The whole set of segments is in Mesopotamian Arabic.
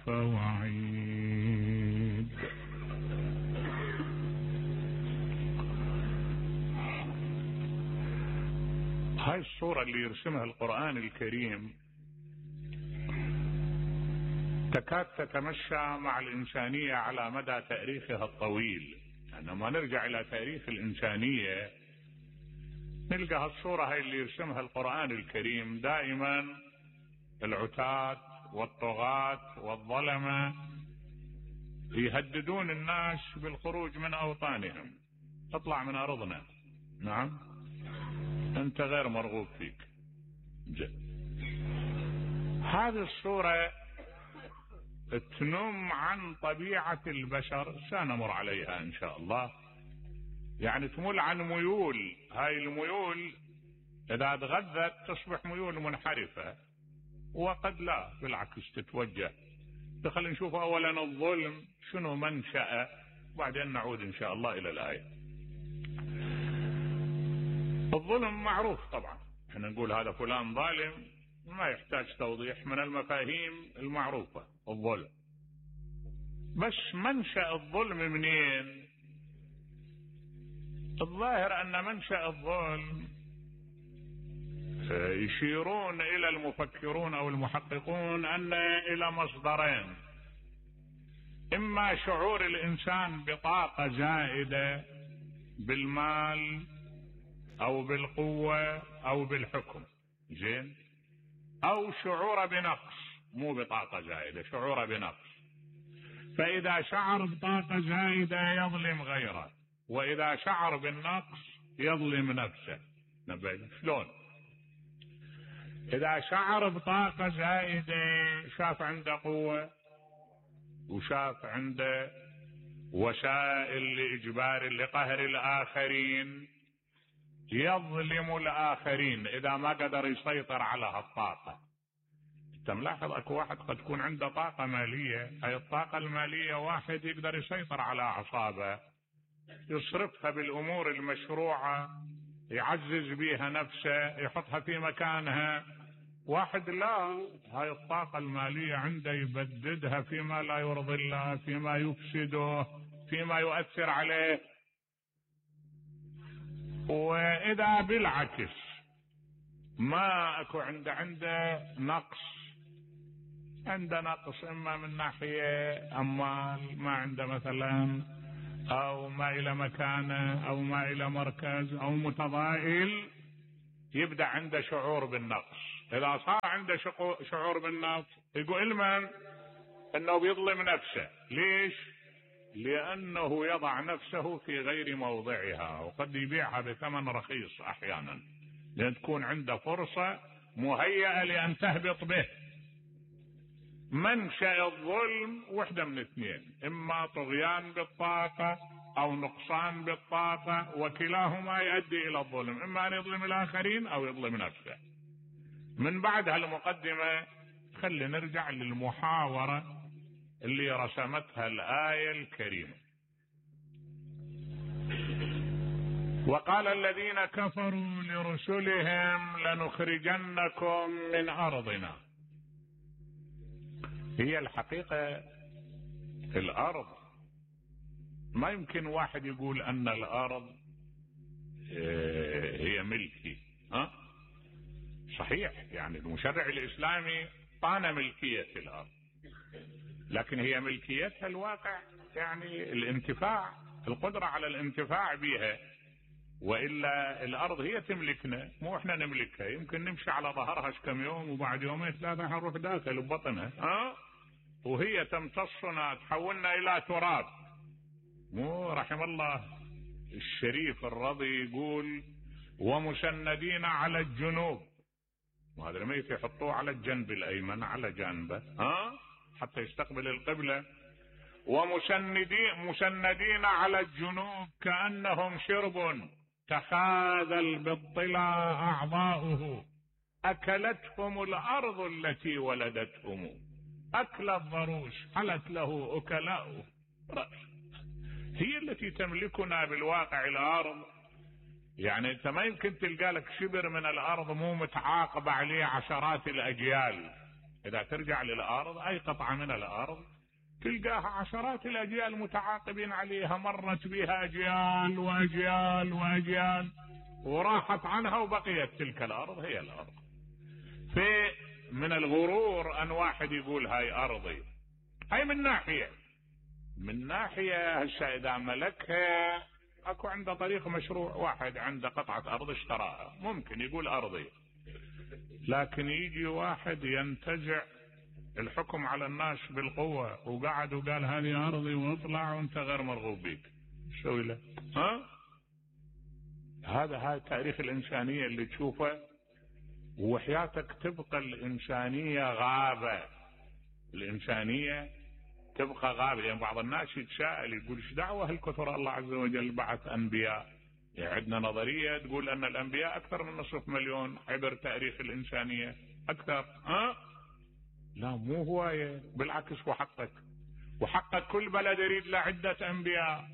فوعيد. هاي الصورة اللي يرسمها القرآن الكريم تكاد تتمشى مع الإنسانية على مدى تاريخها الطويل. عندما نرجع إلى تاريخ الإنسانية نلقى هالصورة هاي اللي يرسمها القرآن الكريم. دائما العتاة والطغاة والظلمة يهددون الناس بالخروج من أوطانهم. اطلع من أرضنا، نعم أنت غير مرغوب فيك. هذه الصورة تنم عن طبيعة البشر، سنمر عليها إن شاء الله. يعني تمل عن ميول، هاي الميول إذا تغذت تصبح ميول منحرفة، وقد لا بالعكس تتوجه. خلينا نشوف أولا الظلم شنو منشأه، وبعدين نعود إن شاء الله إلى الآية. الظلم معروف طبعا، احنا نقول هذا فلان ظالم ما يحتاج توضيح، من المفاهيم المعروفة الظلم. بس منشأ الظلم منين؟ الظاهر أن منشأ الظلم يشيرون إلى المفكرون أو المحققون أن إلى مصدرين: إما شعور الإنسان بطاقة زائدة بالمال أو بالقوة أو بالحكم، زين، أو شعور بنقص، مو بطاقة زائدة، شعور بنقص. فإذا شعر بطاقة زائدة يظلم غيره، وإذا شعر بالنقص يظلم نفسه. نبين شلون؟ إذا شعر بطاقة زائدة شاف عنده قوة وشاف عنده وسائل لإجبار لقهر الآخرين يظلم الآخرين إذا ما قدر يسيطر على هالطاقة. انت ملاحظ اكو واحد قد تكون عنده طاقة مالية، هاي الطاقة المالية واحد يقدر يسيطر على أعصابه، يصرفها بالأمور المشروعة، يعزز بيها نفسه، يحطها في مكانها. واحد لا، هاي الطاقة المالية عنده يبددها فيما لا يرضي الله، فيما يفسده، فيما يؤثر عليه. وإذا بالعكس ما أكو عنده نقص، عنده نقص إما من ناحية أموال، ما عنده مثلا، أو ما إلى مكانة، أو ما إلى مركز، أو متضائل، يبدأ عنده شعور بالنقص. إذا صار عنده شعور بالنقص يقول علما أنه بيظلم نفسه. ليش؟ لأنه يضع نفسه في غير موضعها، وقد يبيعها بثمن رخيص أحيانا، لأن تكون عنده فرصة مهيئة لأن تهبط به. منشأ الظلم وحدة من اثنين: إما طغيان بالطاقة أو نقصان بالطاقة، وكلاهما يؤدي إلى الظلم، إما أن يظلم الآخرين أو يظلم نفسه. من بعد هالمقدمة خلي نرجع للمحاورة اللي رسمتها الآية الكريمة. وقال الذين كفروا لرسلهم لنخرجنكم من أرضنا. هي الحقيقة الأرض ما يمكن واحد يقول أن الأرض هي ملكي. صحيح، يعني المشرع الإسلامي طان ملكية الأرض، لكن هي ملكيتها الواقع، يعني الانتفاع، القدرة على الانتفاع بها. وإلا الأرض هي تملكنا، مو إحنا نملكها. يمكن نمشي على ظهرها كم يوم وبعد يومين ثلاثة نروح داخل ببطنها، وهي تمتصنا، تحولنا إلى تراب. مو رحم الله الشريف الرضي يقول: ومسندين على الجنوب. وهذا الميت يحطوه على الجنب الأيمن، على جانبه حتى يستقبل القبلة. ومسندين على الجنوب كأنهم شرب تخاذل بالطلا أعضاؤه، أكلتهم الأرض التي ولدتهم، أكل الضروس حلت له أكلاؤه. هي التي تملكنا بالواقع الأرض. يعني أنت ما يمكن تلقى لك شبر من الأرض مو متعاقب عليه عشرات الأجيال. إذا ترجع للأرض أي قطعة من الأرض تلقاها عشرات الأجيال متعاقبين عليها، مرت بها أجيال وأجيال وأجيال وراحت عنها وبقيت تلك الأرض هي الأرض. من الغرور أن واحد يقول هاي أرضي، هاي من ناحية هالشيء إذا ملكها أكو عنده طريق مشروع، واحد عنده قطعة أرض اشتراها ممكن يقول أرضي، لكن يجي واحد ينتزع الحكم على الناس بالقوة وقعد وقال هذه أرضي واطلع وانت غير مرغوب بيك، شو له؟ هذا تاريخ الإنسانية اللي تشوفه، وحياتك تبقى الإنسانية غابة، الإنسانية تبقى غابة. يعني بعض الناس يتساءل يقول ايش دعوة هالكثر الله عز وجل بعث أنبياء؟ يعني عندنا نظرية تقول أن الأنبياء أكثر من 500,000 عبر تاريخ الإنسانية أكثر. لا مو هواية، بالعكس وحقك كل بلد يريد له عدة أنبياء،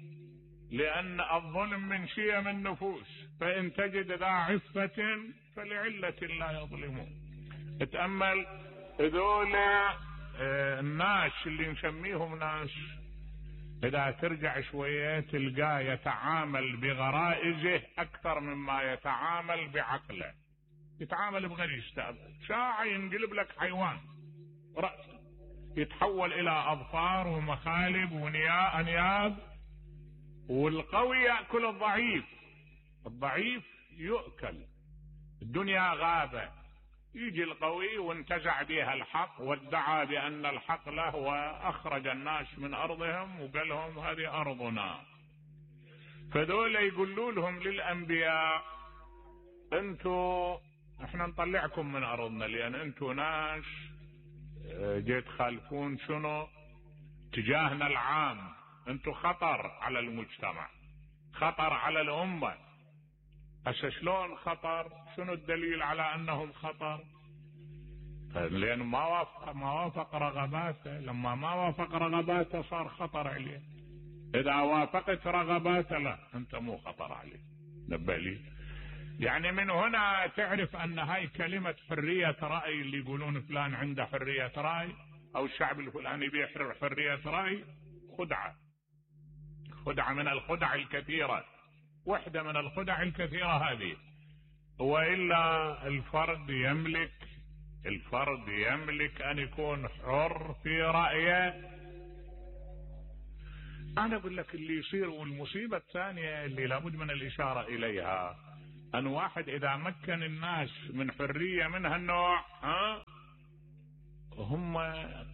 لأن الظلم من شيم النفوس، فإن تجد ذا عفة فلعلة لا يظلمون. اتأمل هذول الناس اللي نسميهم ناس، إذا ترجع شوية تلقاه يتعامل بغرائزه أكثر مما يتعامل بعقله، يتعامل بغريزته، ساعة ينقلب لك حيوان رأسه يتحول إلى أظفار ومخالب وأنياب، والقوي يأكل الضعيف يؤكل. الدنيا غابة، يجي القوي وانتزع بها الحق وادعى بأن الحق له وأخرج الناس من أرضهم وقال لهم هذه أرضنا. فذول يقولوا لهم للأنبياء احنا نطلعكم من أرضنا، لأن انتوا ناس جيت تخالفون شنو تجاهنا العام، انتوا خطر على المجتمع، خطر على الأمة. هسه شلون خطر؟ شنو الدليل على أنهم خطر؟ لأن ما وافق رغباته، لما ما وافق رغباته صار خطر عليه. إذا وافقت رغباته لا، أنت مو خطر عليه. نبه لي. يعني من هنا تعرف أن هاي كلمة حرية رأي، اللي يقولون فلان عنده حرية رأي أو الشعب الفلاني بيحرر حرية رأي، خدعة من الخدع الكثيرة، واحدة من الخدع الكثيرة هذه. وإلا الفرد يملك أن يكون حر في رأيه. أنا أقول لك اللي يصير، والمصيبة الثانية اللي لابد من الإشارة إليها، أن واحد إذا مكن الناس من حرية من هالنوع هم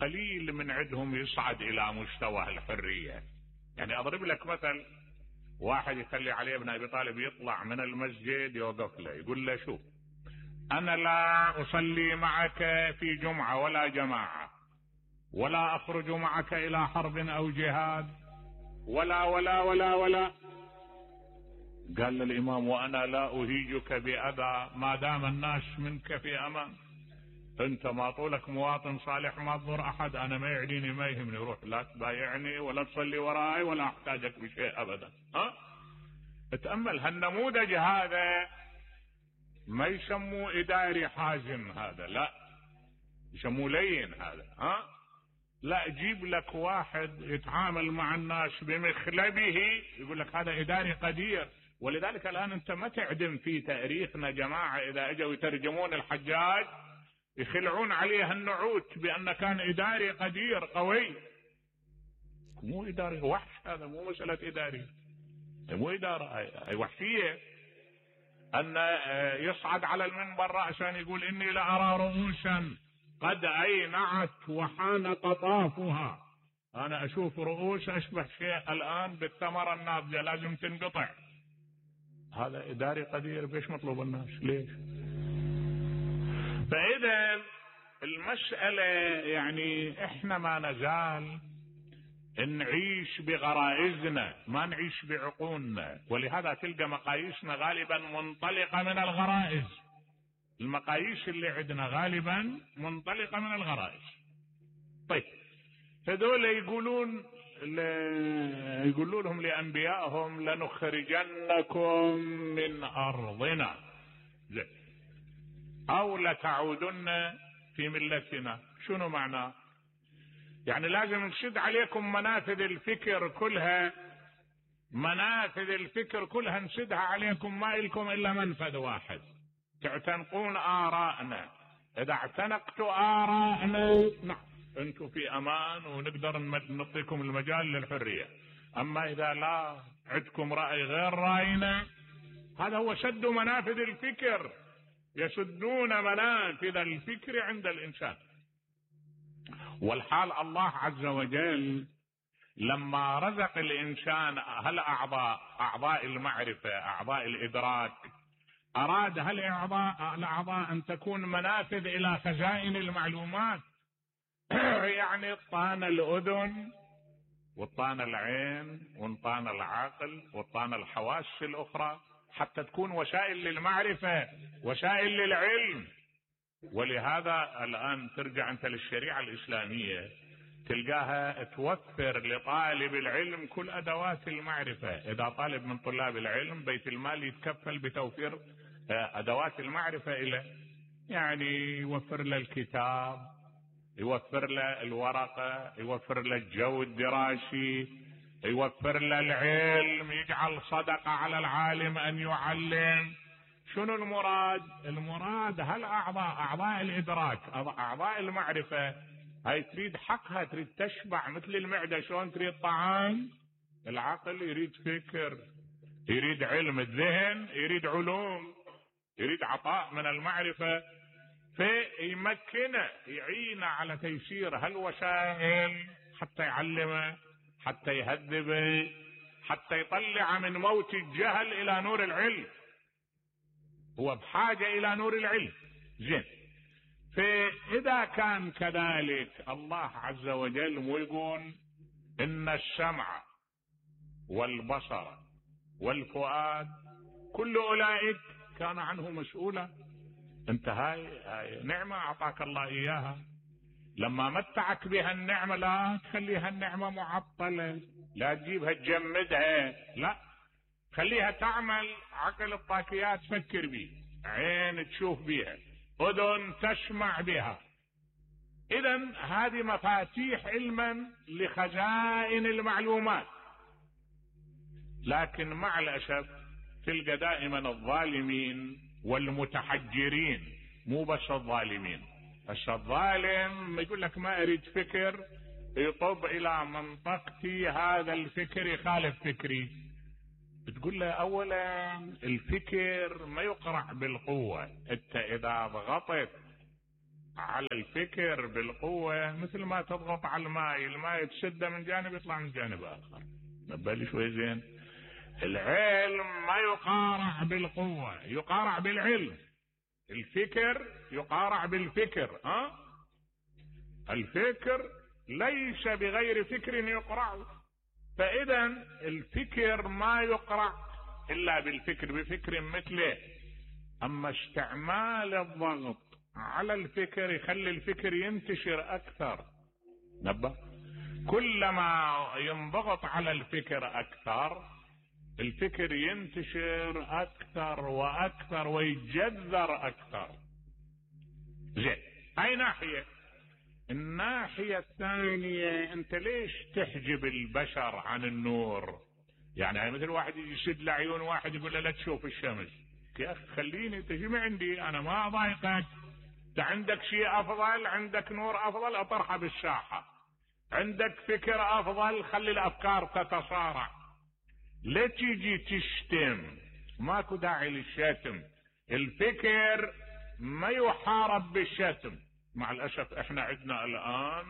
قليل من عندهم يصعد إلى مستوى الحرية. يعني أضرب لك مثل، واحد يخلي علي بن أبي طالب يطلع من المسجد يوقف له يقول له شوف، أنا لا أصلي معك في جمعة ولا جماعة، ولا أخرج معك إلى حرب أو جهاد، ولا ولا ولا ولا. قال للإمام وأنا لا أهيجك بأذى ما دام الناس منك في أمان، أنت ما طولك مواطن صالح ما تضر أحد، أنا ما يعنيني ما يهمني، روح لا تبايعني ولا تصلي وراي ولا أحتاجك بشيء أبدا. اتأمل هالنموذج هذا، ما يسموه إداري حازم هذا، لا يسموه لين هذا. لا، جيب لك واحد يتعامل مع الناس بمخلبه يقول لك هذا إداري قدير. ولذلك الآن أنت ما تعدم في تاريخنا جماعة إذا أجوا يترجمون الحجاج يخلعون عليه النعوت بأن كان إداري قدير قوي. مو إداري وحش، هذا مو مسألة إداري، مو إدارة، أي وحشية. أن يصعد على المنبر رأسا يقول إني لأرى رؤوسا قد أينعت وحان قطافها، أنا أشوف رؤوس أشبه شيء الآن بالثمرة الناضجة لازم تنقطع. هذا إداري قدير، بيش مطلوب الناس ليش؟ فإذا المسألة يعني إحنا ما نزال نعيش بغرائزنا، ما نعيش بعقولنا، ولهذا تلقى مقاييسنا غالبا منطلقة من الغرائز. المقاييس اللي عندنا غالبا منطلقة من الغرائز. طيب هذول يقولوا لهم لأنبيائهم لنخرجنكم من أرضنا أو لتعودن في ملتنا. شنو معناه؟ يعني لازم نشد عليكم منافذ الفكر كلها، منافذ الفكر كلها نشدها عليكم، ما إلكم إلا منفذ واحد، تعتنقون آراءنا. إذا اعتنقتوا آراءنا نعم أنتم في أمان ونقدر نعطيكم المجال للحرية. أما إذا لا عندكم رأي غير رأينا، هذا هو شد منافذ الفكر، يشدون منافذ الفكر عند الإنسان. والحال الله عز وجل لما رزق الإنسان أعضاء المعرفة، أعضاء الإدراك، أراد الأعضاء أن تكون منافذ إلى خزائن المعلومات. يعني طان الأذن وطان العين وطان العقل وطان الحواس الأخرى حتى تكون وسائل للمعرفة، وسائل للعلم. ولهذا الآن ترجع أنت للشريعة الإسلامية تلقاها توفر لطالب العلم كل أدوات المعرفة. إذا طالب من طلاب العلم بيت المال يتكفل بتوفير أدوات المعرفة إليه، يعني يوفر له الكتاب، يوفر له الورقة، يوفر له الجو الدراسي، يوفر له العلم، يجعل صدقة على العالم أن يعلم. شنو المراد؟ المراد أعضاء الإدراك، أعضاء المعرفة، هاي تريد حقها، تريد تشبع مثل المعدة. شلون تريد طعام؟ العقل يريد فكر، يريد علم، الذهن يريد علوم، يريد عطاء من المعرفة، فيمكنه يعينه على تيسير هالوسائل حتى يعلمه، حتى يهذبه، حتى يطلع من موت الجهل إلى نور العلم. هو بحاجة إلى نور العلم. زين، فإذا كان كذلك الله عز وجل مو يقول إن السمع والبصر والفؤاد كل أولئك كان عنه مسؤولا. انت هاي نعمة أعطاك الله إياها، لما متعك بها النعمة لا تخليها النعمة معطلة، لا تجيبها تجمدها، لا خليها تعمل. عقل الطاكيات تفكر بيه، عين تشوف بيها، أذن تسمع بها. إذن هذه مفاتيح علما لخزائن المعلومات. لكن مع الأسف تلقى دائما الظالمين والمتحجرين، مو بس الظالمين. بس الظالم يقول لك ما أريد فكر، يطب إلى منطقتي هذا الفكر يخالف فكري. بتقول له أولا الفكر ما يقرع بالقوة. انت إذا ضغطت على الفكر بالقوة مثل ما تضغط على الماء تشده من جانب يطلع من جانب آخر. نبالي شوي زين. العلم ما يقارع بالقوة، يقارع بالعلم. الفكر يقارع بالفكر. الفكر ليس بغير فكر يقرع. فإذا الفكر ما يقرع إلا بالفكر، بفكر مثله. أما استعمال الضغط على الفكر يخلي الفكر ينتشر أكثر. نبه، كلما ينضغط على الفكر أكثر الفكر ينتشر أكثر وأكثر ويتجذر أكثر. زين، هاي ناحية. الناحية الثانية، أنت ليش تحجب البشر عن النور؟ يعني مثل واحد يشد لعيون واحد يقول له لا تشوف الشمس. يا أخي خليني تجي من عندي، أنا ما أضايقك. أنت عندك شيء أفضل، عندك نور أفضل، أطرحه بالساحة. عندك فكر أفضل، خلي الأفكار تتصارع. لا تيجي تشتم، ماكو داعي للشتم. الفكر ما يحارب بالشتم. مع الأسف احنا عندنا الآن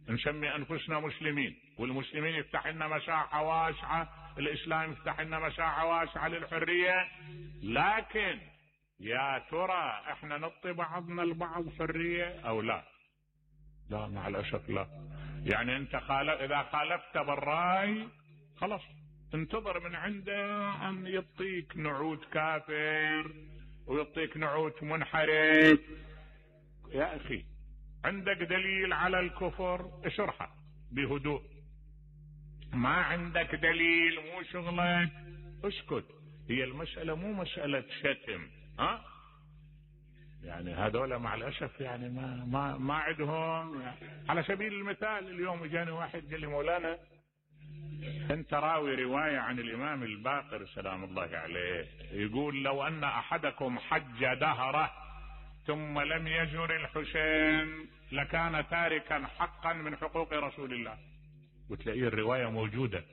نسمي أنفسنا مسلمين، والمسلمين يفتح لنا مساحة واسعة، الإسلام يفتح لنا مساحة واسعة للحرية. لكن يا ترى احنا نعطي بعضنا البعض حرية أو لا؟ لا، مع الأسف لا. يعني انت إذا خالفت بالرأي خلاص انتظر من عنده أن يعطيك نعوت كافر ويعطيك نعوت منحرف. يا أخي عندك دليل على الكفر اشرحه بهدوء، ما عندك دليل مو شغلك اسكت. هي المسألة مو مسألة شتم. يعني هذول مع الاسف يعني ما عندهم يعني. على سبيل المثال اليوم اجاني واحد قال لي مولانا انت راوي روايه عن الامام الباقر سلام الله عليه يقول لو ان احدكم حج دهره ثم لم يزر الحسين لكان تاركا حقا من حقوق رسول الله. وتلاقيه الروايه موجوده.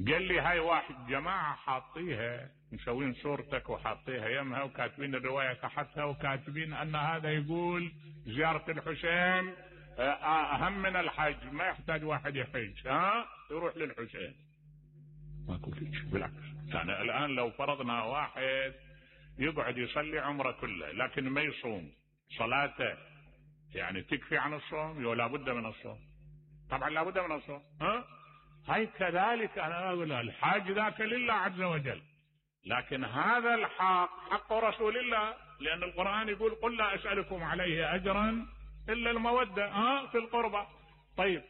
قال لي هاي واحد جماعه حاطيها مسوين صورتك وحاطيها يمها وكاتبين الروايه تحتها وكاتبين ان هذا يقول زياره الحسين اهم من الحج، ما يحتاج واحد يحج يروح للحسين. ماكو شيء بالعكس. يعني الان لو فرضنا واحد يقعد يصلي عمره كله لكن ما يصوم صلاته يعني تكفي عن الصوم ولا بد من الصوم؟ طبعا لا بد من الصوم. هاي كذلك انا اقول الحاج ذاك لله عز وجل، لكن هذا الحق حق رسول الله، لان القرآن يقول قل لا اسألكم عليه اجرا الا المودة في القربى. طيب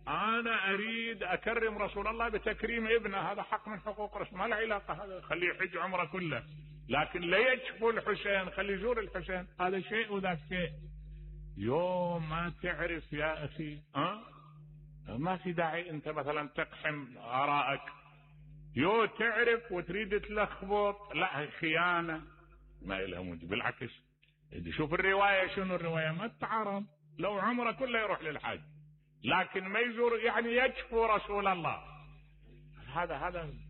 انا اريد اكرم رسول الله بتكريم ابنه، هذا حق من حقوق رسول، ما له علاقة هذا خليه يحج عمره كله، لكن لا يكفو الحسين خليه يزور الحسين، هذا شيء وذاك شيء. يوم ما تعرف يا اخي ما في داعي انت مثلا تقحم ارائك، يو تعرف وتريد تلخبط، لا خيانة ما لها وجه. بالعكس شوف الرواية شنو الرواية ما تتعارض، لو عمره كله يروح للحج لكن ما يزور يعني يكفو رسول الله،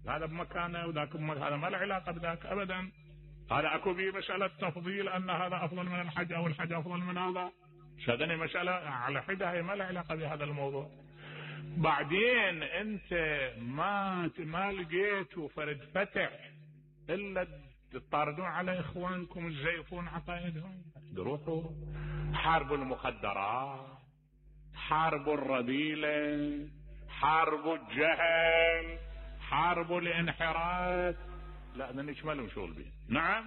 هذا بمكانه وذاك بمكانه، هذا ما له علاقة بذاك ابدا. هذا اكو به مسألة تفضيل ان هذا افضل من الحج او الحج افضل من هذا، هذه مسألة على حدة هي ما له علاقة بهذا الموضوع. بعدين انت ما لقيتوا فرد فتح الا تطاردون على اخوانكم تزيفون عقائدهم. روحوا حاربوا المخدرات، حاربوا الرذيلة، حاربوا الجهل، حاربوا الانحراف. لا ده نشملهم شغل به. نعم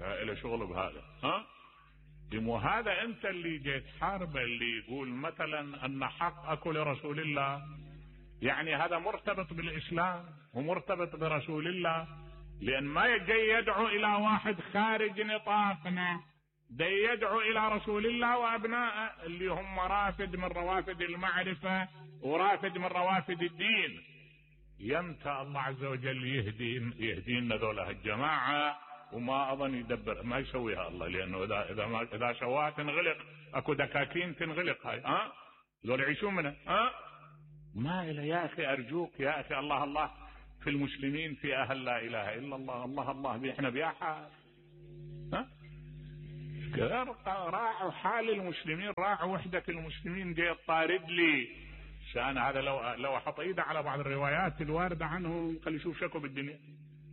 له شغل بهذا. وهذا انت اللي جيت حارب اللي يقول مثلا ان حق اكو لرسول الله، يعني هذا مرتبط بالاسلام ومرتبط برسول الله، لان ما جاي يدعو الى واحد خارج نطاقنا، ده يدعو الى رسول الله وابنائه اللي هم رافد من روافد المعرفة ورافد من روافد الدين. يمتى الله عز وجل يهدينا ذولا الجماعة، وما اظن يدبر ما يسويها الله، لانه اذا سواها تنغلق، اكو دكاكين تنغلق هاي ذول يعيشون منها. ما إله يا اخي ارجوك يا اخي، الله في المسلمين في اهل لا اله الا الله، الله احنا بياحة راعوا حال المسلمين، راعوا وحدة المسلمين. جاي طارد لي شان هذا لو احط ايده على بعض الروايات الواردة عنه خلي يشوف شكو بالدنيا،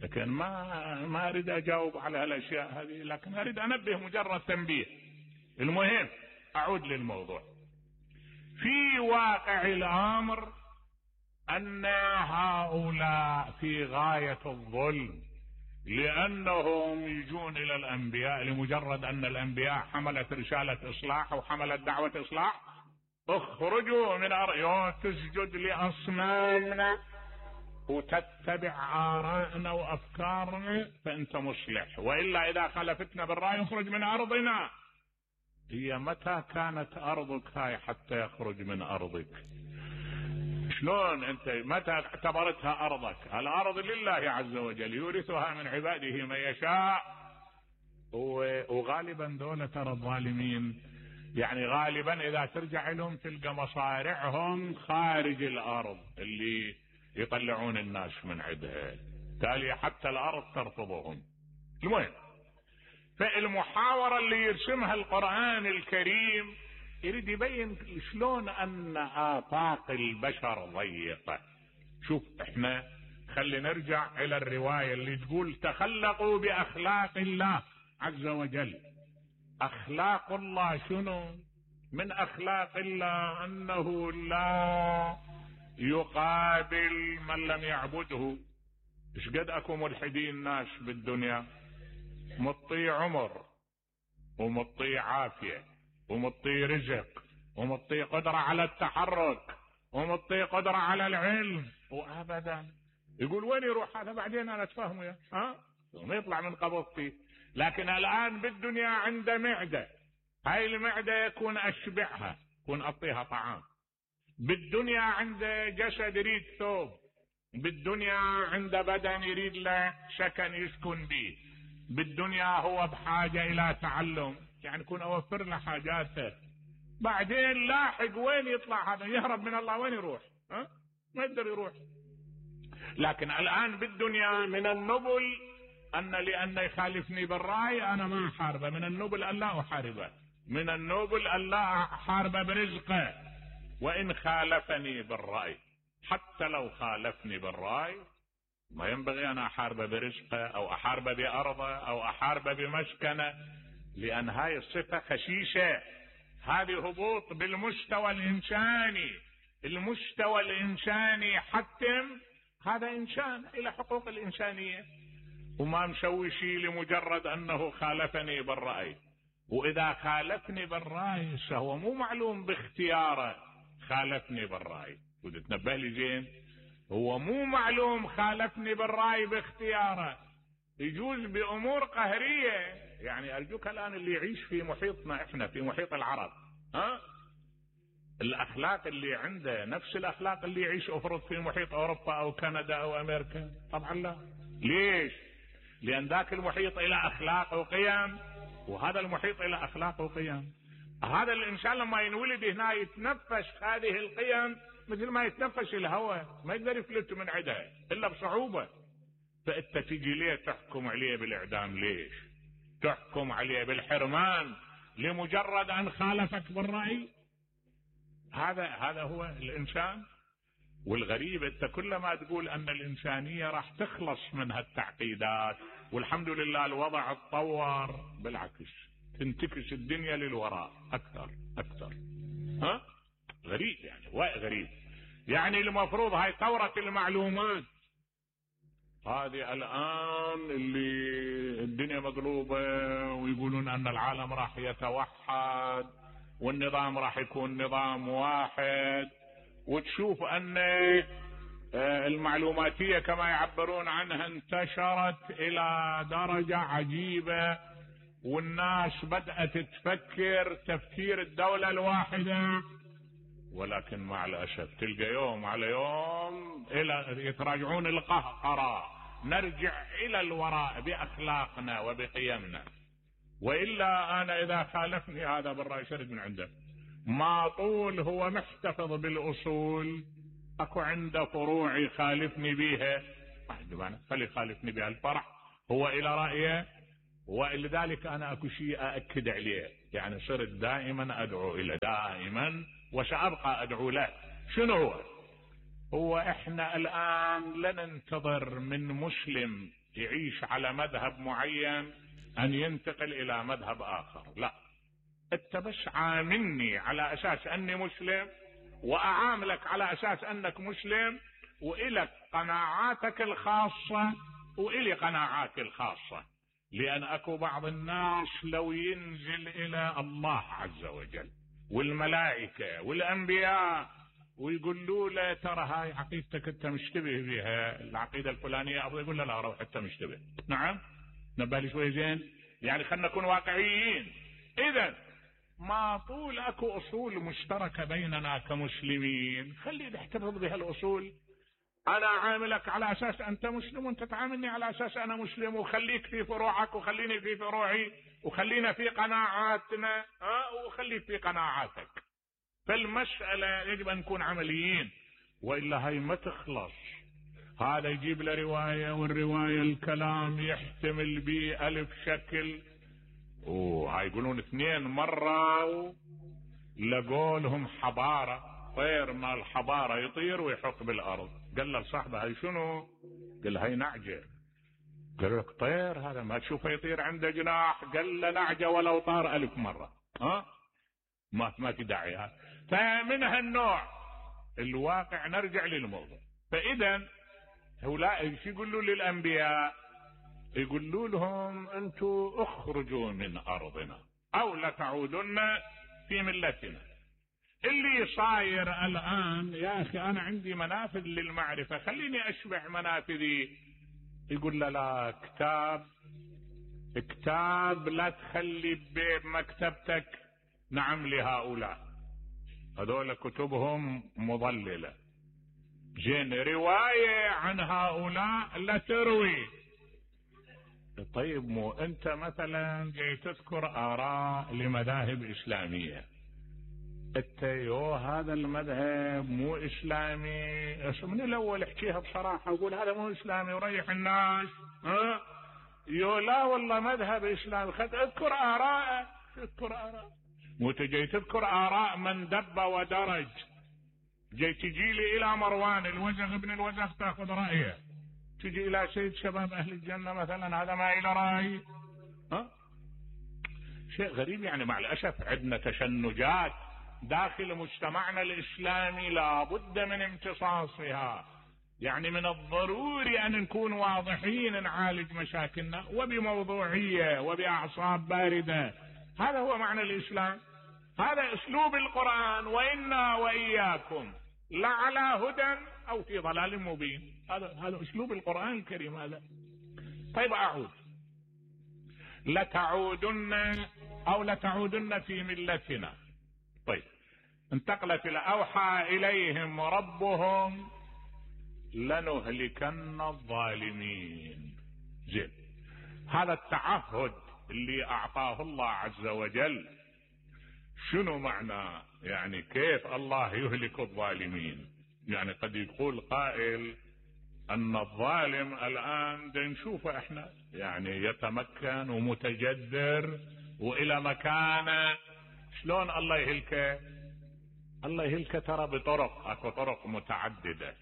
لكن ما اريد اجاوب على هالاشياء هذه، لكن اريد انبه مجرد تنبيه. المهم اعود للموضوع. في واقع الامر ان هؤلاء في غاية الظلم، لانهم يجون الى الانبياء لمجرد ان الانبياء حملت رسالة اصلاح وحملت دعوة اصلاح. اخرجوا من تسجد لاصنامنا وتتبع آراءنا وأفكارنا فأنت مصلح، وإلا إذا خالفتنا بالرأي اخرج من أرضنا. هي متى كانت أرضك هاي حتى يخرج من أرضك؟ شلون أنت متى اعتبرتها أرضك؟ الأرض لله عز وجل يورثها من عباده من يشاء. وغالبا دولة ترى الظالمين يعني غالبا إذا ترجع لهم تلقى مصارعهم خارج الأرض اللي يطلعون الناس من عندها، تالي حتى الأرض ترفضهم. المهم فالمحاورة اللي يرسمها القرآن الكريم يريد يبين شلون أن آفاق البشر ضيقة. شوف احنا خلي نرجع إلى الرواية اللي تقول تخلقوا بأخلاق الله عز وجل. أخلاق الله شنو؟ من أخلاق الله أنه لا يقابل من لم يعبده. ايش قد اكو ملحدين ناس بالدنيا، مطي عمر ومطي عافية ومطي رزق ومطي قدرة على التحرك ومطي قدرة على العلم، وابدا يقول وين يروح هذا بعدين انا اتفاهمه ما يطلع من قبضتي. لكن الآن بالدنيا عنده معدة، هاي المعدة يكون أشبعها، يكون أعطيها طعام. بالدنيا عنده جسد يريد ثوب، بالدنيا عنده بدن يريد له سكن يسكن به، بالدنيا هو بحاجة إلى تعلم، يعني يكون أوفر له حاجاته. بعدين لاحق وين يطلع هذا؟ يهرب من الله، وين يروح؟ ما يقدر يروح. لكن الآن بالدنيا من النبل لأن يخالفني بالرأي أنا ما أحاربه، من النبل أن لا أحاربه، من النبل أن لا أحاربه برزقه، وإن خالفني بالرأي، حتى لو خالفني بالرأي ما ينبغي أن أحاربه برزقه أو أحاربه بأرضه أو أحاربه بمسكنه، لأن هاي الصفة خشيشة، هذه هبوط بالمستوى الإنساني. المستوى الإنساني حتم هذا إنسان إلى حقوق الإنسانية، وما مسوي شيء لمجرد أنه خالفني بالرأي. وإذا خالفني بالرأي فهو مو معلوم باختياره، خالفني بالرأي، وتتنبه لي زين، هو مو معلوم خالفني بالرأي باختياره، يجوز بأمور قهرية. يعني أرجوك الآن اللي يعيش في محيطنا إحنا، في محيط العرب، الأخلاق اللي عنده نفس الأخلاق اللي يعيش أفرض في محيط أوروبا أو كندا أو أمريكا؟ طبعا لا. ليش؟ لأن ذاك المحيط إلى أخلاق وقيم، وهذا المحيط إلى أخلاق وقيم. هذا الإنسان لما ينولد هنا يتنفس هذه القيم مثل ما يتنفس الهواء، ما يقدر يفلت من عدها إلا بصعوبة. فأنت تجي ليه تحكم عليه بالإعدام؟ ليش تحكم عليه بالحرمان لمجرد أن خالفك بالرأي؟ هذا هو الإنسان. والغريب أنت كلما تقول أن الإنسانية راح تخلص من هالتعقيدات والحمد لله الوضع اتطور، بالعكس تنتكس الدنيا للوراء أكثر. غريب يعني، غريب. يعني المفروض هاي ثورة المعلومات هذه الآن اللي الدنيا مقلوبة ويقولون أن العالم راح يتوحد والنظام راح يكون نظام واحد، وتشوف أن المعلوماتية كما يعبرون عنها انتشرت إلى درجة عجيبة، والناس بدأت تفكر تفكير الدولة الواحدة. ولكن مع الأسف تلقى يوم على يوم يتراجعون القهقرة، نرجع إلى الوراء بأخلاقنا وبقيمنا. وإلا أنا إذا خالفني هذا بالرأي شرد من عنده، ما طول هو محتفظ بالأصول، أكو عنده فروع يخالفني بيها، خلي يخالفني بها، الفرح هو إلى رأيه. ولذلك أنا أكو شيء أأكد عليه، يعني صرت دائما أدعو إلى، دائما وسأبقى أدعو له. شنو هو إحنا الآن لن ننتظر من مسلم يعيش على مذهب معين أن ينتقل إلى مذهب آخر، لا. أنت بس عاملني على أساس أني مسلم وأعاملك على أساس أنك مسلم، وإلك قناعاتك الخاصة وإلي قناعاتي الخاصة. لأن أكو بعض الناس لو ينزل إلى الله عز وجل والملائكة والأنبياء ويقولوا له ترى هاي عقيدتك أنت مشتبه بها، العقيدة الفلانية، أو يقول له لا روح أنت مشتبه. نعم، نبالي شوي زين، يعني خلنا نكون واقعيين. إذن ما طول أكو أصول مشتركة بيننا كمسلمين، خلي نحتفظ بها الأصول. أنا عاملك على أساس أنت مسلم وأنت تعاملني على أساس أنا مسلم، وخليك في فروعك وخليني في فروعي، وخلينا في قناعاتنا وخليك في قناعاتك. فالمسألة يجب أن نكون عمليين، وإلا هاي ما تخلص. هذا يجيب له رواية، والرواية الكلام يحتمل به ألف شكل. هاي يقولون 2 مرة لقوا لهم حبارة، طير مال حبارة يطير ويحط بالأرض. قال له صاحبه هاي شنو؟ قال هاي نعجة. قال لك طير هذا ما تشوفه يطير عنده جناح؟ قال له نعجة ولو طار 1000 مرة. ما في داعي. فمن هالنوع الواقع نرجع للموضوع. فإذا هؤلاء ايش يقولوا للأنبياء؟ يقولوا لهم أنتم اخرجوا من أرضنا أو لتعودن في ملتنا. اللي صاير الآن يا أخي أنا عندي منافذ للمعرفة، خليني أشبع منافذي. يقول لا كتاب كتاب لا تخلي بمكتبتك نعم لهؤلاء، هذول كتبهم مضللة. جين رواية عن هؤلاء لا تروي. طيب مو انت مثلا جاي تذكر آراء لمذاهب إسلامية، انت هذا المذهب مو إسلامي، من الأول احكيها بصراحة وقول هذا مو إسلامي وريح الناس. لا والله مذهب إسلامي، اذكر آراء، اذكر آراء، مو تجي تذكر آراء من دب ودرج. جاي تجي لي إلى مروان الوزغ ابن الوزغ تأخذ رأيه، تجي إلى سيد شباب أهل الجنة مثلا هذا ما إلى رأي. شيء غريب يعني. مع الأسف عندنا تشنجات داخل مجتمعنا الإسلامي لا بد من امتصاصها. يعني من الضروري أن نكون واضحين، نعالج مشاكلنا وبموضوعية وبأعصاب باردة. هذا هو معنى الإسلام، هذا أسلوب القرآن. وإنا وإياكم لعلى هدى أو في ضلال مبين. هذا أسلوب القرآن الكريم هذا. طيب أعود. لتعودن في ملتنا. طيب انتقلت إلى أوحى إليهم ربهم لنهلكن الظالمين. زين، هذا التعهد اللي أعطاه الله عز وجل شنو معناه؟ يعني كيف الله يهلك الظالمين؟ يعني قد يقول قائل أن الظالم الآن نشوفه احنا يعني يتمكن ومتجذر وإلى مكانه، شلون الله يهلكه؟ الله يهلكه ترى بطرق، اكو طرق متعددة.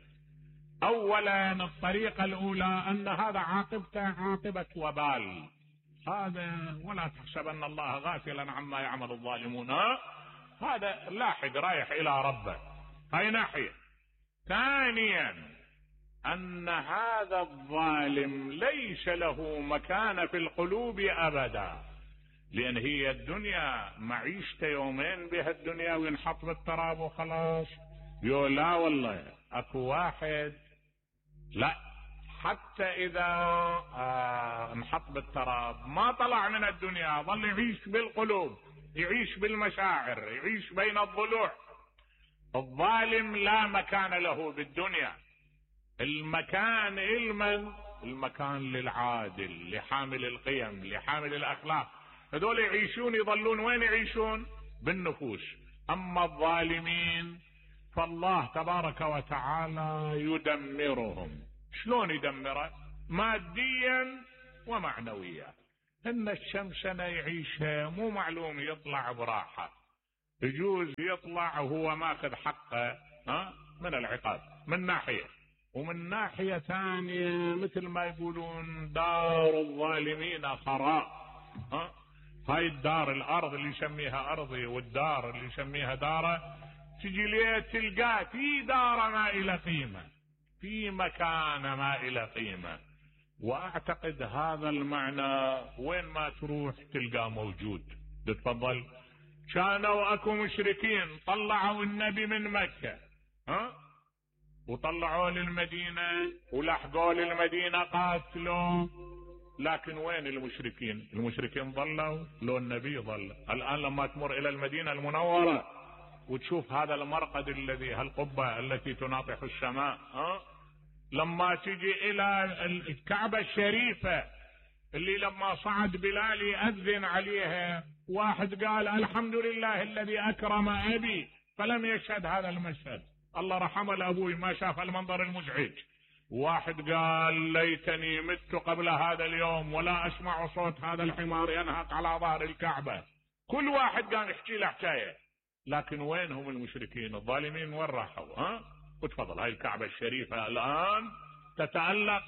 أولا الطريقة الأولى أن هذا عاقبته عاقبة وبال، هذا ولا تحسبن الله غافلا عما يعمل الظالمون، هذا لاحق رايح إلى ربه. هاي ناحية. ثانيا أن هذا الظالم ليس له مكان في القلوب أبدا، لأن هي الدنيا معيشته يومين بها الدنيا وينحط بالتراب وخلاص. لا والله أكو واحد لا، حتى إذا انحط بالتراب ما طلع من الدنيا، ظل يعيش بالقلوب، يعيش بالمشاعر، يعيش بين الضلوع. الظالم لا مكان له بالدنيا. المكان المكان للعادل، لحامل القيم، لحامل الأخلاق. هذول يعيشون يظلون وين يعيشون؟ بالنفوس. أما الظالمين فالله تبارك وتعالى يدمرهم. شلون يدمره؟ ماديا ومعنويا. ان الشمس انا يعيشها مو معلوم، يطلع براحة، يجوز يطلع وهو ماخذ حقه من العقاب من ناحية، ومن ناحية ثانية مثل ما يقولون دار الظالمين خراء. هاي الدار، الارض اللي يسميها ارضي والدار اللي يسميها داره، تجي ليه تلقاه في دار ما إلى قيمة، في مكان ما إلى قيمة. وأعتقد هذا المعنى وين ما تروح تلقاه موجود. تفضل. كانوا أكو مشركين طلعوا النبي من مكة وطلعوا للمدينة ولحقوا للمدينة قاتلوا، لكن وين المشركين؟ المشركين ظلوا لو النبي ظل. الآن لما تمر إلى المدينة المنورة وتشوف هذا المرقد الذي، هالقبة التي تناطح السماء، لما تجي إلى الكعبة الشريفة اللي لما صعد بلال يأذن عليها، واحد قال الحمد لله الذي أكرم أبي فلم يشهد هذا المشهد، الله رحمه لأبوي ما شاف المنظر المزعج. واحد قال ليتني مت قبل هذا اليوم ولا أسمع صوت هذا الحمار ينهق على ظهر الكعبة. كل واحد قال يحكي له حكاية. لكن وين هم المشركين الظالمين؟ وين راحوا؟ وتفضل هاي الكعبة الشريفة الآن تتألق،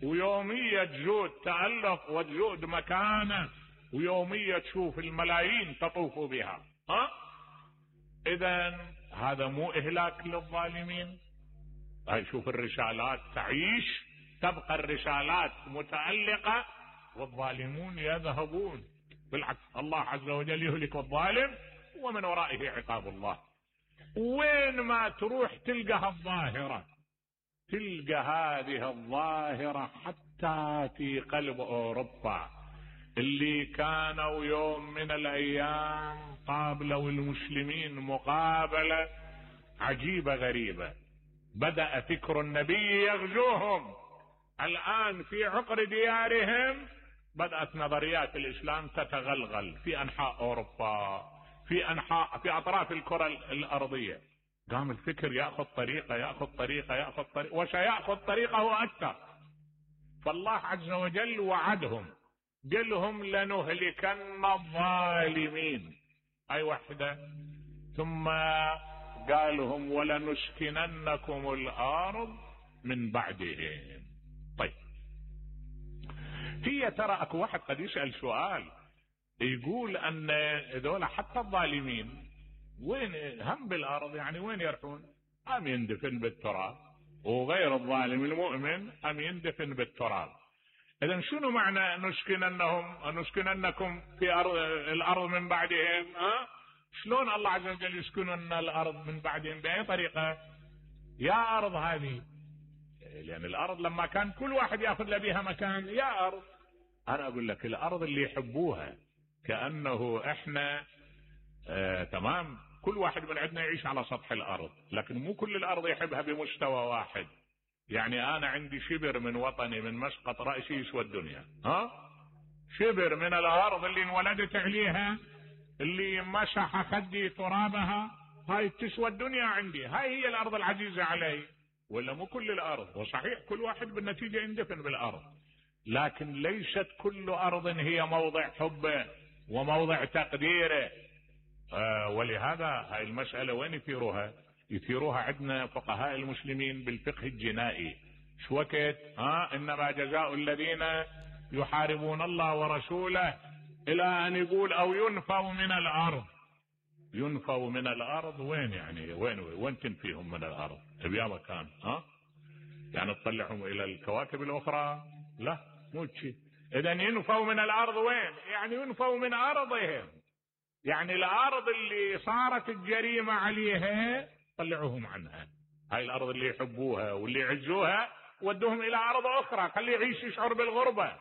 ويومية تزود تألق وتزود مكانه، ويومية تشوف الملايين تطوف بها. إذن هذا مو إهلاك للظالمين؟ هاي شوف الرسالات تعيش، تبقى الرسالات متألقة والظالمون يذهبون. بالعكس الله عز وجل يهلك الظالم ومن ورائه عقاب الله. وين ما تروح تلقى الظاهرة، تلقى هذه الظاهرة حتى في قلب أوروبا، اللي كانوا يوم من الايام قابلوا المسلمين مقابلة عجيبة غريبة، بدأ فكر النبي يغزوهم. الآن في عقر ديارهم بدأت نظريات الإسلام تتغلغل في أنحاء أوروبا، في أطراف الكرة الأرضية. قام الفكر يأخذ طريقة وسيأخذ طريقه أكثر. فالله عز وجل وعدهم، قلهم لنهلكن الظالمين، أي وحدة. ثم قالهم ولنسكننكم الأرض من بعدهم. طيب، هي ترى اكو واحد قد يسأل سؤال يقول ان ذولا حتى الظالمين وين هم بالارض، يعني وين يرحون؟ ام يندفن بالتراب، وغير الظالم المؤمن ام يندفن بالتراب. اذا شنو معنى نسكننكم في الارض من بعدهم؟ شلون الله عز وجل يسكنن الارض من بعدهم؟ باي طريقة يا ارض هذه؟ لأن الأرض لما كان كل واحد يأخذ له بها مكان، يا أرض أنا أقول لك الأرض اللي يحبوها كأنه إحنا تمام، كل واحد من عندنا يعيش على سطح الأرض، لكن مو كل الأرض يحبها بمستوى واحد. يعني أنا عندي شبر من وطني من مسقط رأسي يسوى الدنيا، شبر من الأرض اللي انولدت عليها، اللي مسح خدي ترابها، هاي تسوى الدنيا عندي، هاي هي الأرض العزيزة علي. ولا مو كل الأرض، وصحيح كل واحد بالنتيجة يندفن بالأرض، لكن ليست كل أرض هي موضع حبه وموضع تقديره. ولهذا هاي المسألة وين يثيروها عندنا فقهاء المسلمين بالفقه الجنائي. شو وقت إنما جزاء الذين يحاربون الله ورسوله إلى أن يقول أو ينفوا من الأرض. ينفوا من الأرض وين؟ يعني وين تنفيهم من الأرض؟ بيا مكان يعني تطلعهم إلى الكواكب الأخرى؟ لا، مو شيء. إذا ينفوا من الأرض وين؟ يعني ينفوا من أرضهم، يعني الأرض اللي صارت الجريمة عليها طلعوهم عنها. هاي الأرض اللي يحبوها واللي يعزوها ودوهم إلى أرض أخرى، خليه يعيش يشعر بالغربة.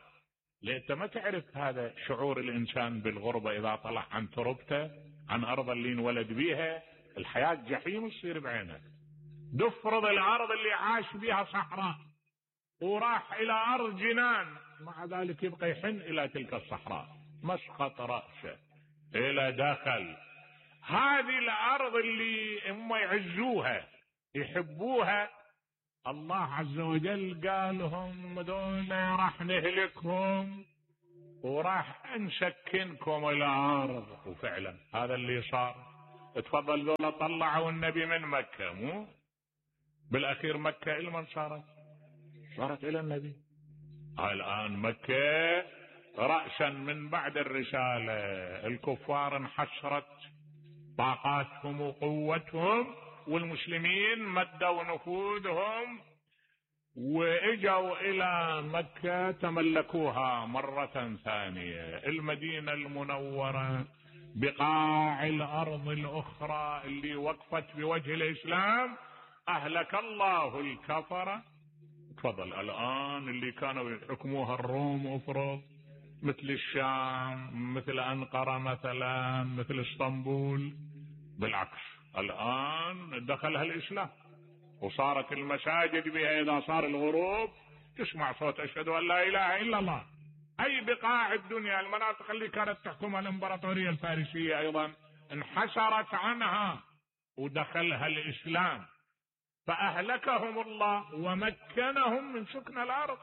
لأن أنت ما تعرف هذا شعور الإنسان بالغربة إذا طلع عن تربته، عن أرض اللي انولد بيها. الحياة جحيم تصير بعينه. دفرض الأرض اللي عاش بيها صحراء وراح إلى أرض جنان، مع ذلك يبقى يحن إلى تلك الصحراء، مسقط رأسه إلى داخل. هذه الأرض اللي هم يعزوها يحبوها، الله عز وجل قالهم دول راح نهلكهم وراح نسكنكم الأرض. وفعلا هذا اللي صار. تفضل، دول طلعوا النبي من مكة، مو بالأخير مكة لمن صارت إلى النبي. الآن مكة رأسا من بعد الرسالة الكفار انحشرت طاقاتهم وقوتهم، والمسلمين مدوا نفوذهم واجوا الى مكة تملكوها مرة ثانية. المدينة المنورة، بقاع الارض الاخرى اللي وقفت بوجه الاسلام، اهلك الله الكفرة. تفضل، الان اللي كانوا يحكموها الروم افرض، مثل الشام، مثل انقرة مثلا، مثل اسطنبول، بالعكس الان دخلها الاسلام وصارت المساجد بها اذا صار الغروب تسمع صوت اشهد ان لا اله الا الله. اي بقاع الدنيا، المناطق اللي كانت تحكمها الامبراطورية الفارسية ايضا انحسرت عنها ودخلها الاسلام، فاهلكهم الله ومكنهم من سكن الارض.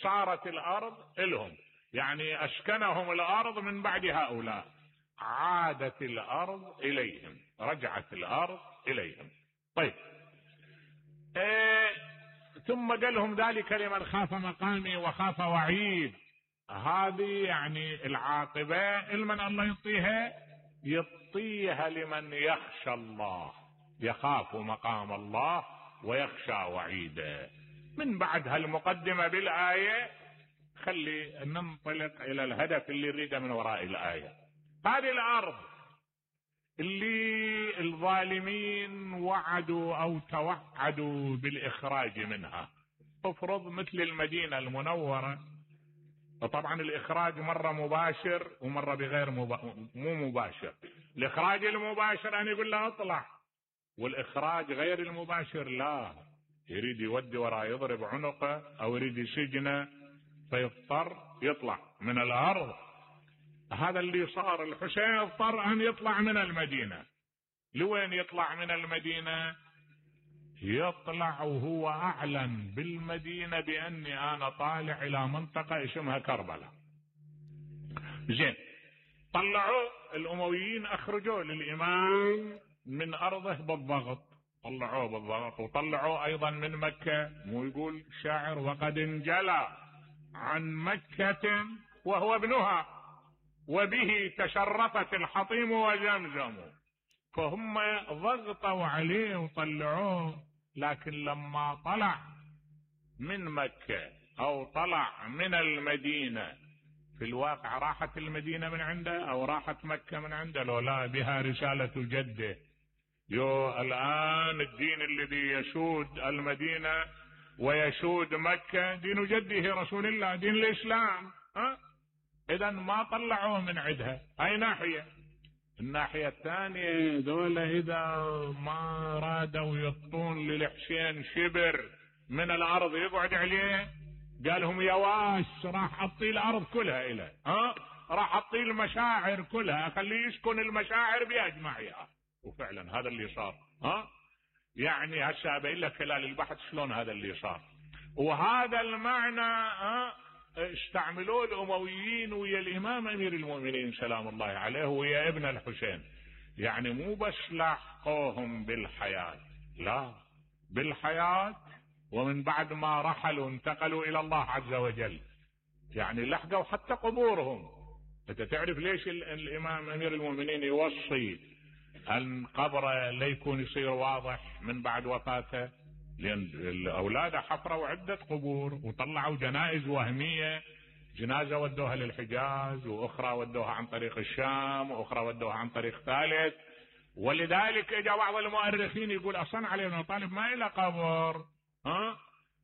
صارت الارض لهم، يعني اسكنهم الارض من بعد هؤلاء، عادت الارض اليهم، رجعت الارض اليهم. طيب، ثم قال لهم ذلك لمن خاف مقامي وخاف وعيد. هذه يعني العاقبة لمن الله يعطيها لمن يخشى الله، يخاف مقام الله ويخشى وعيده. من بعد هالمقدمة بالآية خلي ننطلق إلى الهدف اللي نريده من وراء الآية. هذه الأرض اللي الظالمين وعدوا أو توعدوا بالإخراج منها، افرض مثل المدينة المنورة وطبعا الإخراج مرة مباشر ومرة بغير مو مباشر. الإخراج المباشر أن يقول له اطلع، والإخراج غير المباشر لا، يريد يودي وراه يضرب عنقه أو يريد يسجنه فيضطر يطلع من الأرض. هذا اللي صار. الحسين اضطر أن يطلع من المدينة. لوين يطلع من المدينة؟ يطلع وهو أعلن بالمدينة بأني أنا طالع إلى منطقة اسمها كربلاء. زين، طلعوا الأمويين، أخرجوا للإمام من أرضه بالضغط، طلعوه بالضغط، وطلعوه أيضا من مكة. مو يقول الشاعر وقد انجلى عن مكة وهو ابنها وبه تشرفت الحطيم وزمزم. فهم ضغطوا عليه وطلعوه، لكن لما طلع من مكة أو طلع من المدينة، في الواقع راحت المدينة من عنده أو راحت مكة من عنده؟ لو لا، بها رسالة جده. الآن الدين الذي يسود المدينة ويسود مكة دين جده رسول الله، دين الإسلام. إذن ما طلعوه من عندها. أي ناحية؟ الناحية الثانية دولة إذا ما رادوا يطون للحسين شبر من الأرض يقعد عليه، قالهم يا واش راح أطي الأرض كلها إليه، راح أطي المشاعر كلها، أخليه يسكن المشاعر بأجمعها. وفعلا هذا اللي صار. يعني هسه أبين لك خلال البحث شلون هذا اللي صار. وهذا المعنى استعملوه الأمويين ويا الإمام أمير المؤمنين سلام الله عليه ويا ابن الحسين. يعني مو بس لاحقوهم بالحياة، لا، بالحياة ومن بعد ما رحلوا انتقلوا إلى الله عز وجل، يعني لحقوا حتى قبورهم. أنت تعرف ليش الإمام أمير المؤمنين يوصي أن قبره لا يكون يصير واضح من بعد وفاته؟ لأن الأولاد حفروا عدة قبور وطلعوا جنائز وهمية، جنازة ودوها للحجاز، وأخرى ودوها عن طريق الشام، وأخرى ودوها عن طريق ثالث. ولذلك اجى بعض المؤرخين يقول أصلا علي بن طالب ما إلى قبر،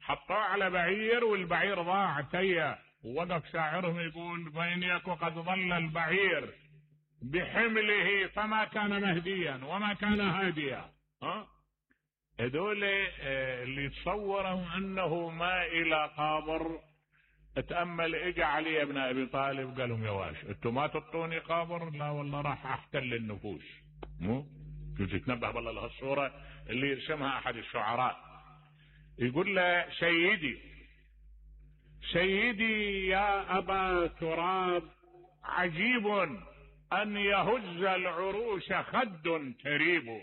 حطوه على بعير والبعير ضاع تيه. ووقف شاعرهم يقول فإن يك قد ظل البعير بحمله فما كان مهديا وما كان هاديا. هذول اللي يتصوروا انه ما الى قابر. اتأمل اجى علي ابن ابي طالب قال لهم يا واش انتم ما تعطوني قابر؟ لا والله راح احتل النفوس. مو تتنبه بالله لهالصورة اللي يرسمها احد الشعراء، يقول له سيدي يا ابا تراب عجيب ان يهز العروش خد تريب.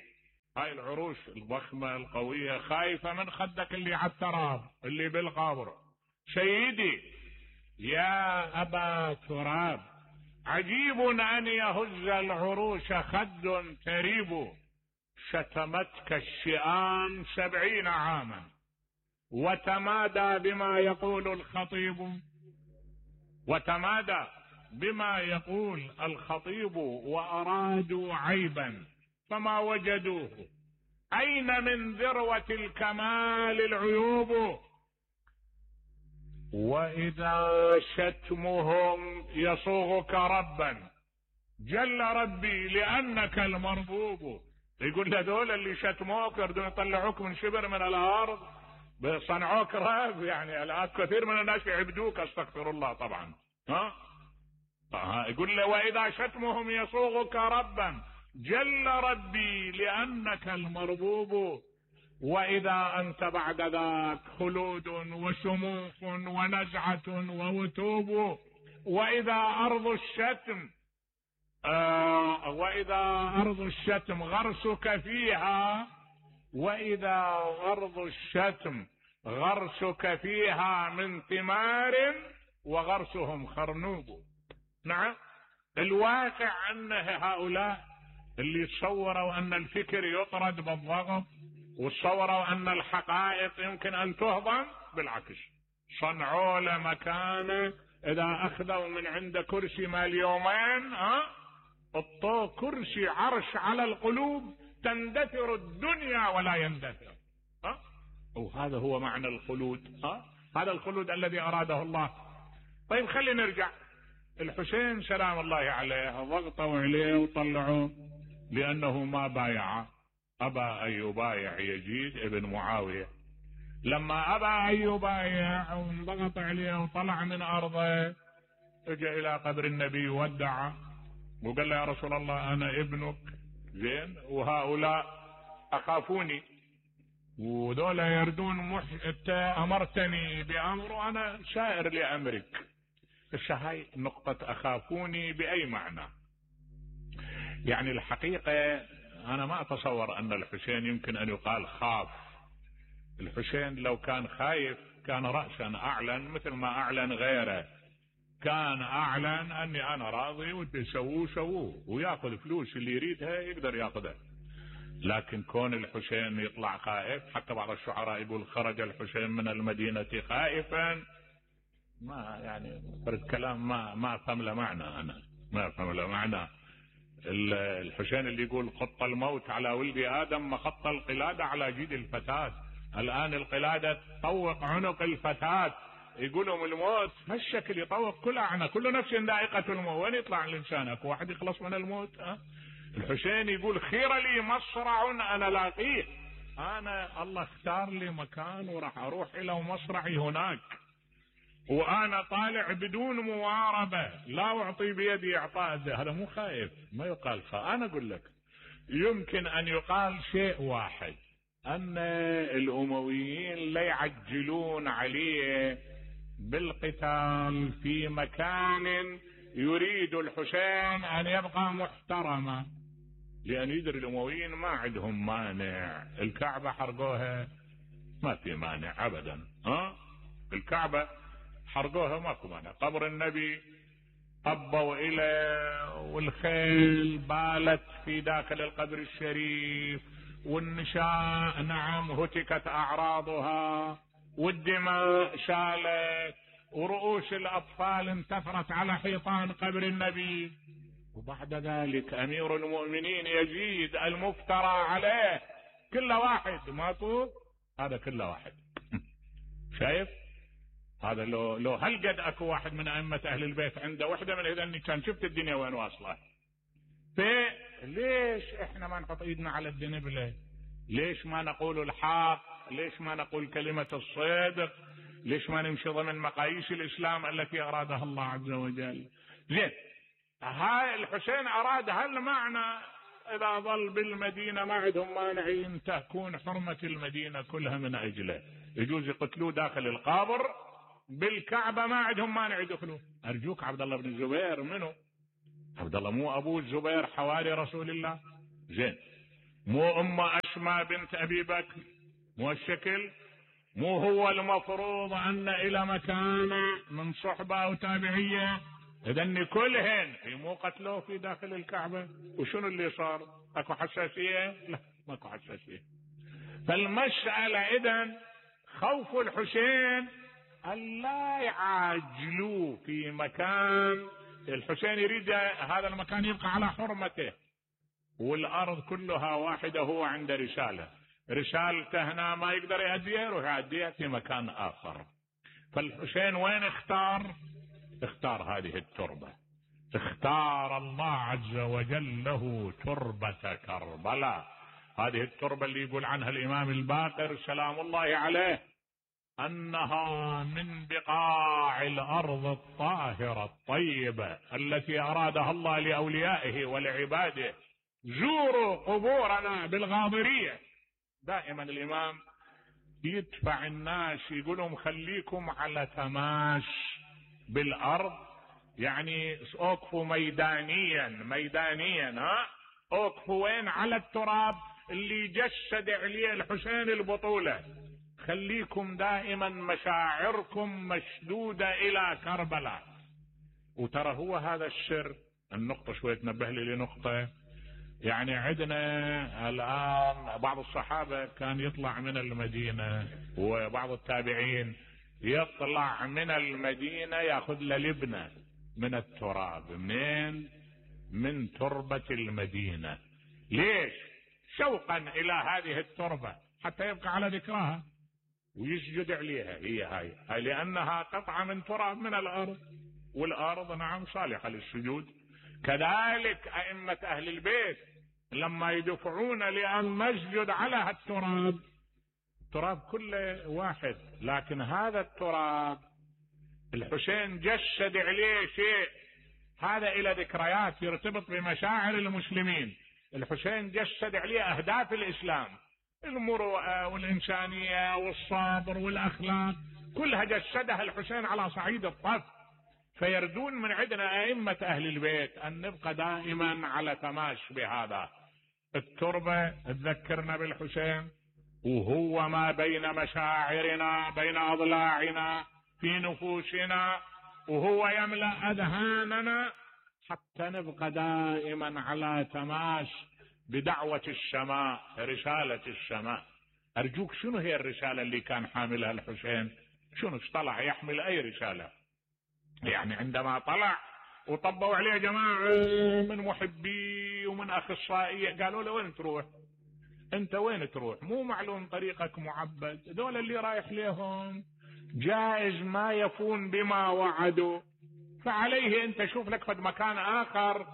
هاي العروش الضخمة القوية خايفة من خدك اللي على التراب اللي بالقبر. سيدي يا أبا تراب عجيب أن يهز العروش خد تريب. شتمتك الشئام 70 عاما وتمادى بما يقول الخطيب وأرادوا عيبا فما وجدوه. أين من ذروة الكمال العيوب؟ وإذا شتمهم يصوغك ربا جل ربي لأنك المربوب. يقول هذول اللي شتموك يردون يطلعوك من شبر من الأرض صنعوك رب. يعني الآن كثير من الناس يعبدوك، استغفر الله طبعا. يقول له وإذا شتمهم يصوغك ربا جل ربي لأنك المربوب. وإذا أنت بعد ذاك خلود وشموخ ونزعة ووتوب. وإذا أرض الشتم غرسك فيها، وإذا أرض الشتم غرسك فيها من ثمار وغرسهم خرنوب. نعم، الواقع أن هؤلاء اللي يتصوروا أن الفكر يطرد بالضغط وتصوروا أن الحقائق يمكن أن تهضم، بالعكس صنعوا له مكانه. إذا أخذوا من عنده كرسي مال يومين اطوا كرسي عرش على القلوب تندثر الدنيا ولا يندثر. وهذا هو معنى الخلود. هذا الخلود الذي أراده الله. طيب خلينا نرجع. الحسين سلام الله عليه ضغطوا عليه وطلعوه لأنه ما بايع، أبى أن يبايع يزيد ابن معاوية. لما أبى أن يبايع وانضغط عليه وطلع من أرضه، اجى إلى قبر النبي ودع وقال له يا رسول الله أنا ابنك، زين، وهؤلاء أخافوني وذولا يردون أنت أمرتني بأمر وأنا سائر لأمرك. هاي نقطة أخافوني بأي معنى؟ يعني الحقيقة أنا ما أتصور أن الحسين يمكن أن يقال خاف. الحسين لو كان خايف كان رأسا أعلن مثل ما أعلن غيره، كان أعلن أني أنا راضي وتسووه ويأخذ فلوس اللي يريدها يقدر يأخذها. لكن كون الحسين يطلع خائف، حتى بعض الشعراء يقول خرج الحسين من المدينة خائفا، ما يعني فرد كلام ما أفهم له معنى. أنا ما أفهم له معنى. الحسين اللي يقول خط الموت على ولد آدم ما خط القلادة على جيد الفتاة، الآن القلادة تطوق عنق الفتاة، يقولهم الموت هالشكل يطوق كل عنق، كل نفس ذائقة الموت. وين يطلع الإنسان؟ أكو واحد يخلص من الموت؟ الحسين يقول خير لي مصرع أنا لاقيه، أنا الله اختار لي مكان وراح أروح إلى مصرعي هناك، وأنا طالع بدون مواربة، لا أعطي بيدي إعطاء. هذا مو خايف، ما يقال خايف. أنا أقول لك يمكن أن يقال شيء واحد، أن الأمويين لا يعجلون عليه بالقتال في مكان يريد الحسين أن يبقى محترما، لأن يدري الأمويين ما عندهم مانع. الكعبة حرقوها ما في مانع أبدا، الكعبة حرقوها ماكو مانع. قبر النبي طبوا إليه والخيل بالت في داخل القبر الشريف، والنساء نعم هتكت أعراضها، والدماء شالت، ورؤوس الأطفال انتثرت على حيطان قبر النبي. وبعد ذلك أمير المؤمنين يزيد المفترى عليه كل واحد ما طول، هذا كل واحد شايف هذا. لو هل قد اكو واحد من ائمة اهل البيت عنده وحدة من هذني كان شفت الدنيا وين واصله. ليش احنا ما نحط ايدنا على الدنبلة؟ ليش ما نقول الحق؟ ليش ما نقول كلمة الصدق؟ ليش ما نمشي ضمن مقاييس الاسلام التي ارادها الله عز وجل؟ زين، هاي الحسين اراد هالمعنى. اذا ظل بالمدينة ما عندهم مانعين تكون حرمة المدينة كلها من اجله، يجوز يقتلوه داخل القبر. بالكعبة ما عندهم مانع يدخلوا. ارجوك عبد الله بن الزبير منو؟ عبد الله مو ابو الزبير حواري رسول الله؟ زين، مو اسماء بنت ابي بكر؟ مو الشكل؟ مو هو المفروض ان الى مكانه من صحبة او تابعية؟ اذن كلهن مو قتلوه في داخل الكعبة. وشنو اللي صار؟ اكو حساسية؟ لا ماكو حساسية. فالمسألة اذن خوف الحسين ألا يعاجلوا في مكان الحسين يريد هذا المكان يبقى على حرمته، والأرض كلها واحدة، هو عنده رسالته هنا ما يقدر يهديها، يروح يهديها في مكان آخر. فالحسين وين اختار هذه التربة، اختار الله عز وجل له تربة كربلاء. هذه التربة اللي يقول عنها الإمام الباقر سلام الله عليه أنها من بقاع الأرض الطاهرة الطيبة التي أرادها الله لأوليائه ولعباده. زوروا قبورنا بالغاضرية. دائما الإمام يدفع الناس يقولهم خليكم على تماس بالأرض، يعني اوقفوا ميدانيا اوقفوا وين؟ على التراب اللي جسد عليه الحسين البطولة. خليكم دائما مشاعركم مشدودة إلى كربلاء. وترى هو هذا السر. النقطة شوية تنبه لي لنقطة. يعني عندنا الآن بعض الصحابة كان يطلع من المدينة، وبعض التابعين يطلع من المدينة يأخذ له لبنة من التراب. منين؟ من تربة المدينة. ليش؟ شوقا إلى هذه التربة حتى يبقى على ذكرها ويسجد عليها. هي هاي لأنها قطعة من تراب من الأرض. والأرض نعم صالحة للسجود. كذلك أئمة أهل البيت لما يدفعون لأن نسجد على هالتراب، التراب كله واحد، لكن هذا التراب الحسين جسد عليه شيء، هذا إلى ذكريات يرتبط بمشاعر المسلمين. الحسين جسد عليه أهداف الإسلام، المروءة والإنسانية والصبر والأخلاق، كلها جسدها الحسين على صعيد الطف. فيردون من عندنا أئمة أهل البيت أن نبقى دائما على تماس بهذا. التربة تذكرنا بالحسين، وهو ما بين مشاعرنا، بين أضلاعنا، في نفوسنا، وهو يملأ أذهاننا حتى نبقى دائما على تماس بدعوة السماء، رسالة السماء. أرجوك، شنو هي الرسالة اللي كان حاملها الحسين؟ شنو طلع يحمل أي رسالة؟ يعني عندما طلع وطبوا عليه جماعة من محبي ومن أخصائية، قالوا له وين تروح؟ أنت وين تروح؟ مو معلوم طريقك معبد، دول اللي رايح لهم جائز ما يفون بما وعدوا، فعليه أنت شوف لك فد مكان آخر.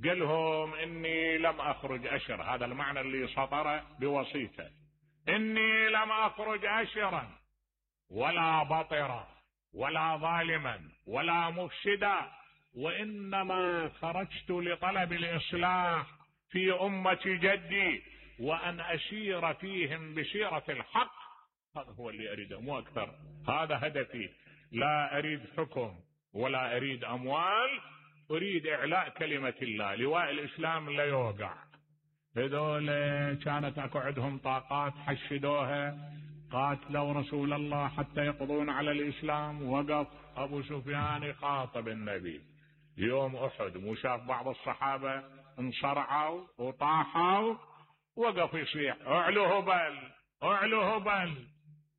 قالهم إني لم أخرج أشر، هذا المعنى اللي سطر بوصيته، إني لم أخرج أشرا ولا بطرا ولا ظالما ولا مفسدا، وإنما خرجت لطلب الإصلاح في أمة جدي، وأن أسير فيهم بسيرة الحق. هذا هو اللي أريده مو أكثر، هذا هدفي. لا أريد حكم ولا أريد أموال، أريد إعلاء كلمة الله، لواء الإسلام لا يوقع. هذول كانت أكو عندهم طاقات حشدوها، قاتلوا رسول الله حتى يقضون على الإسلام. وقف أبو سفيان يخاطب النبي يوم أحد، وشاف بعض الصحابة انصرعوا وطاحوا، وقف يصيح اعلو هبل اعلو هبل،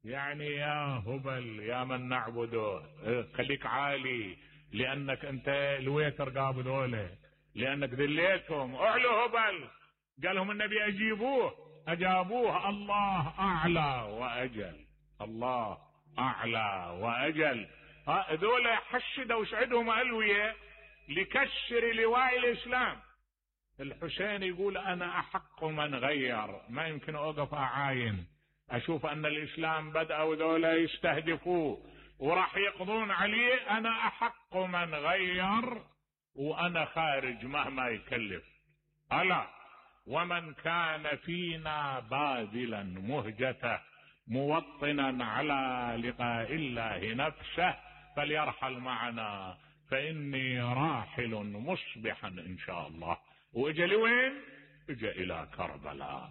يعني يا هبل يا من نعبده خليك عالي، لأنك أنت الويتر قابل دولة، لأنك ذليتهم، اعلو هبل. قالهم النبي أجابوه الله أعلى وأجل، الله أعلى وأجل. ذولا حشدوا وسعدهم ألوية لكسر لواء الإسلام. الحسين يقول أنا أحق من غير، ما يمكن أوقف أعاين أشوف أن الإسلام بدأوا ذولا يستهدفوه وراح يقضون عليه، أنا أحق من غير وأنا خارج مهما يكلف. ألا ومن كان فينا باذلا مهجته موطنا على لقاء الله نفسه فليرحل معنا، فإني راحل مصبحا إن شاء الله. وإجا لوين؟ إجا إلى كربلاء.